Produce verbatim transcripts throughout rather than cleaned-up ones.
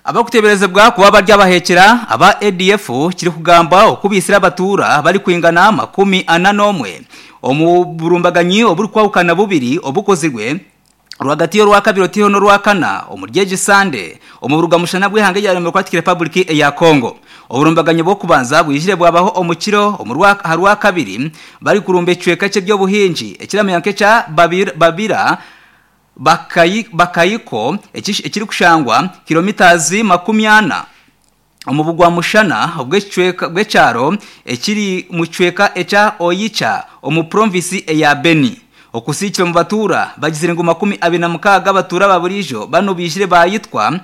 Abakuteberezebwa kuba bari abahekera aba A D F kiri kugamba okubisira abatura bari kwingana makumi ana n'omwe omu burumbaganyi oburikwahukana bubiri obukozirwe rwagati y'orwakabiri otiho n'orwakana omu ryeji Sande omu burugamushana bw'ihanga rya Democratic Republic eya Congo. Oburumbaganyi bw'okubanza bwijire bwabaho omukiro omu rwakabiri bari kurumba ecweka ky'ebyobuhingi ekiramenya nk'ekya Babira Bakayi, Bakayiko ekiri kushangwa kilomitazi makumi ana omu bugwa mushana obw'ecweka bw'ekyaro ekiri mu cweka ekya Oyicha omu provinsi eya Beni. Okusikira mu batura bagizire ngu makumi abiri na mukaaga abatura ba burijo bano bijire bayitwa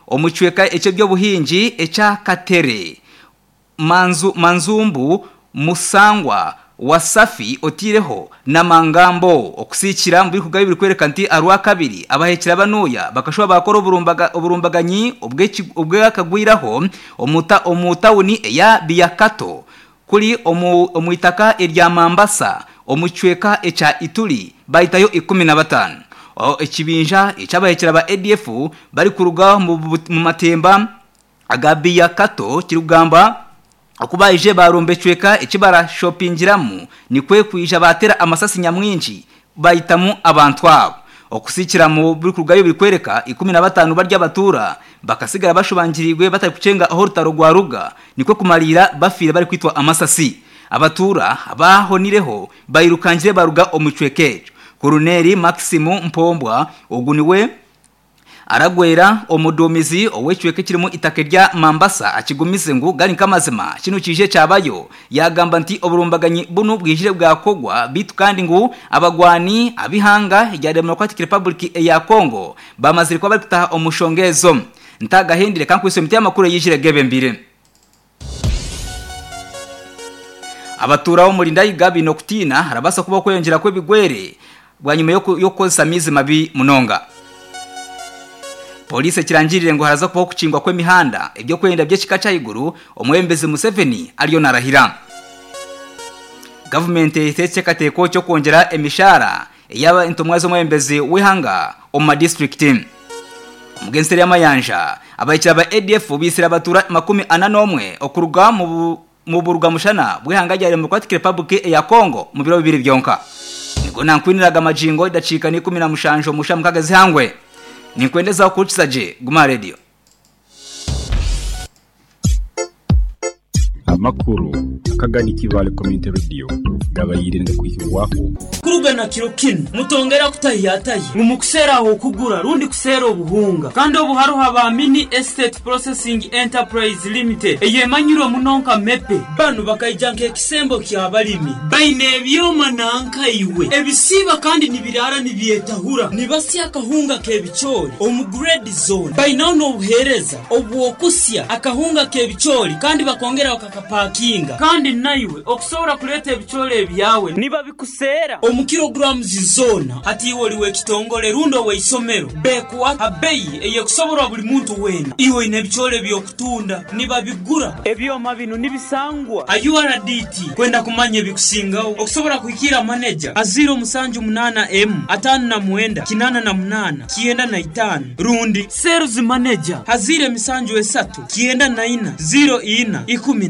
omu cweka eky'ebyobuhingi ekya Katere, Manzu, Manzumbu, Musangwa, Wasafi otireho na Mangambo. Okusikira mu bikugayo biri kwereka nti arwa kabiri abahekera banuya bakashuba bakora oburumbaga oburumbaganyi obwakagwiraho omuta omutawuni eya Biakato kuri omu omuitaka erya Mambasa omucweka echa Ituri baitayo ikumi na batano. Ekibinja ekyabahekera ba A D F bari kuruga mu matemba aga Biakato kirugamba okubaije barumbe cweka ekibara shoppingiramu nikwe kwija batera amasasi nyamwingi bayitamu abantu abo. Okusikira mu buri kurugayo biri kwereka ikumi na batanu barya abatura bakasigara bashubangirirwe batari kucenga aho rutaro rwa ruga nikwe kumalira bafire bari kwitwa amasasi. Abatura abahonireho bayirukanjire baruga omucwekejo. Colonel Maximu Mpombwa oguniwe aragwera omudumizi owecweke kirimo itaka rya Mambasa akigumize ngu gari nkamazima kino kije cyabayo yagamba nti oburumbaganyi bunu bwijire bwakogwa bitu kandi ngu abagwani abihanga ya Democratic Republic ya Congo bamazire kwa bari kutaha omushongezo. Ntagahindire kankwise miti amakuru yijire gebe mbire. Abatura bo muri Ndayiga no kutina harabasa kuba kweyongera kwebigwere bwanyuma yo koza mizi mabi munonga. Polisi kirangirire ngo haraza kubaho kucingwa kw'emihanda ibyo kwenda by'ekika cy'iguru omwembezi Museveni ariyo narahira. Government itetse kateko cyo kongera emishara yaba intumwa z'omwembezi w'ihanga omu district. Omugenseri y'amayanja abayikira ba A D F bisira abatura makumi ana n'omwe okuruga mu mu burugamushana bw'ihanga rya Democratic Republic ya Congo mu biro bibiri byonka. Niko nankwiniraga amajingo idacika ni ikumi na mushanjo musha mukagazi hangwe. Ninkwendeza kukuchisaje Guma Radio. Amakuru akagani Kivale Community Radio gabayirinde kuhirwaho kurugana kiro kino mutongera kutahiyataye mumukusera aho kugura rundi kusera obuhunga kandi obuharuha ba Mini Estate Processing Enterprise Limited eyemanyiro munonka mepe banu bakaijanka ekisembo kya balimi baine ebyoma nanka iwe ebisiba kandi nibirara nibyetahura nibasya akahunga kebichori omu grade zone bainaho n'obuhereza obwokusya akahunga kebichori kandi bakongera bakakapakinga kandi naiwe okusobora kuleta ebichori ebyawe niba bikusera omu kilograms zona hati iwe oliwe kitongole rundo weisomero bekuwa abeyi eyekusoborwa buli muntu wena iwe ine ebichori byokutunda niba bigura ebyoma bino nibisangwa U R D T kwenda kumanya ebikusingaho okusobora kuhikira manager aziro musanju munana M atano na mwenda kinana na munana kienda na itano rundi sales manager hazire misanju esatu kienda na ina zero ina ikumi.